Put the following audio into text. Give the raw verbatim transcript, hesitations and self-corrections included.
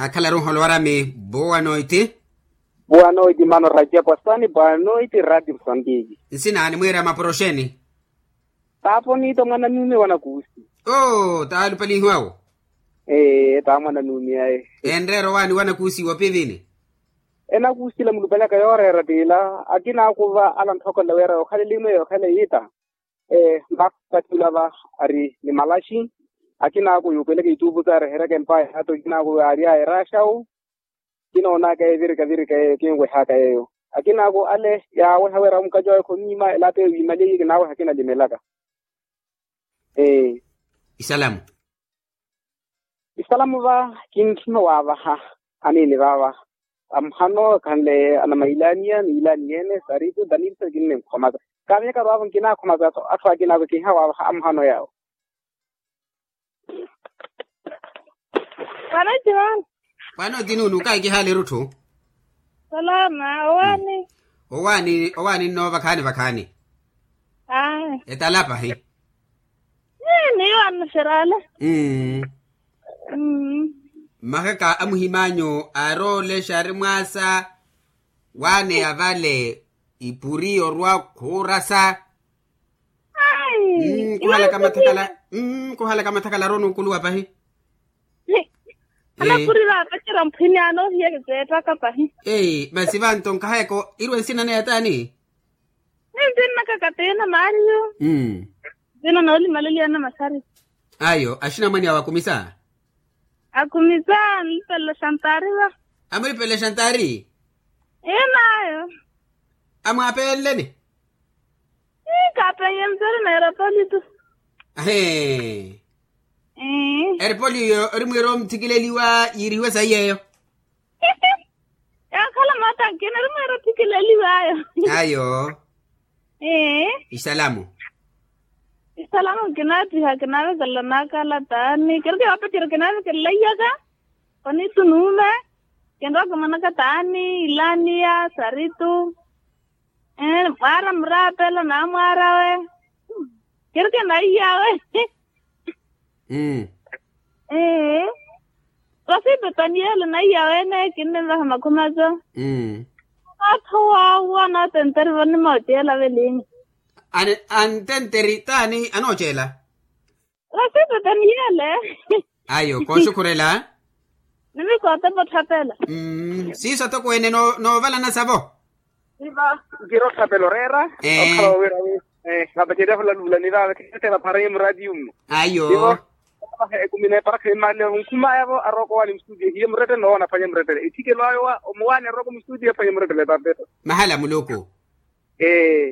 Akhalaru nholowarami. Boa noite. Boa noite mano raja kwasani boa noite radio musambiki. Nsina animwiira mapuro oxeeni? Taapo niita mwana nuumi wanakuusi. Oo taalupalinhiwawo. Ee taa mwana nuumi aye. Enreera owaani wanakuusi wopivini? Enakuusila mulupalaka yooreera tiila akinaakuva ala ntthokolela wira yookhala elimu eyo yookhala yiita. Ee maka kattula va ari ni malaxi. Akinaaku yuupeleke ituupu saarehereke mpaya hata akinaaku yaaryaya eraxawu. Kinoonaka yeyo virika virika yeyo kinwehaka yeyo. Akinaaku ale yaaweha wira mukaci wawe khonyiima elato eyo wiimaliye kinaaweha kinalimelaka. Ee. Isalamu. Isalamu va kintthuna waavaha aniini vaava. Amuhano khanle anamailaniya niilaniyeene saritu danilisa kinninkhomasa. Kaamiyaka vaavo nkinaakhomasa atthu akinaako kinhawaavaha amuhano yaawo. Pano etiwani. Pano etinuunu kahi kihaaleru tthu. Salama owaani. Owaani owaani nno vakhaani vakhaani. Aa. Etala pahi. Niyo annuxeraale. Mmm. Mmm. Mmahaka a muhim'anyu aaroole xaari mwaasa. Waaneya vale ipuri yorwa khuurasa. Ai. Kuhalaka mathakala. Kuhalaka mathakala aroona okuluwa pahi. Anapuri vaapacerya mphwini anoohiya kiseettaka pahi. Masi vanto nkahayaka irwe nsina neya taani? Nintinnaka katiina maariyo. Nsina noolimaleliya na maxari. Ayo axinamwane awo akumisa. Akumisa anlipelexa ntaari va. Amulipelexa ntaari? Ii naayo. Amwaapenleni? Ii kaapenye mzeri na erepoli tu. Ahee. Erepoli iyo orimwiira omuthikileliwa yiirihiwe sayi yeeyo. Yaakhala mata nkina orimwiira othikileliw'ayo. Ayo. Ee. Isalamu. Isalamu nkinaattiha kinaavekelela naakhala taani kereke yoopacerya kinaavekelela iyaka. Koniitu nuume. Kinrowa kimonaka taani ilaaniya saritu. Mwaara muraapela naamwaarawe. Kereke naiyawe. Mmm. Rosipetani yeela naiyawe ene kinnivaha makhumi aco. Mmm. Atho waawa anatenteri vanimooceela velingi. Antenteri taani anooceela? Rosipetani yeele. Ayo kooxukhurela. Nivikootepa otthapela. Siiso atokweene noovalana savo. Siva nkira otthapela oreera. Okhala wowira wi vaapacerya valaluvulani vava kheettela pharanye muraatiyu mmo. Ayo. Sivo. Ekumi neeparakha imaale onkhumaya-vo arookowaani mustudio hiye murettele noowoona aphwanye murettele etthikelo ayo wa omuwaani arooko mustudio aphwanye murettele epapeto. Mahala muluku. Ee.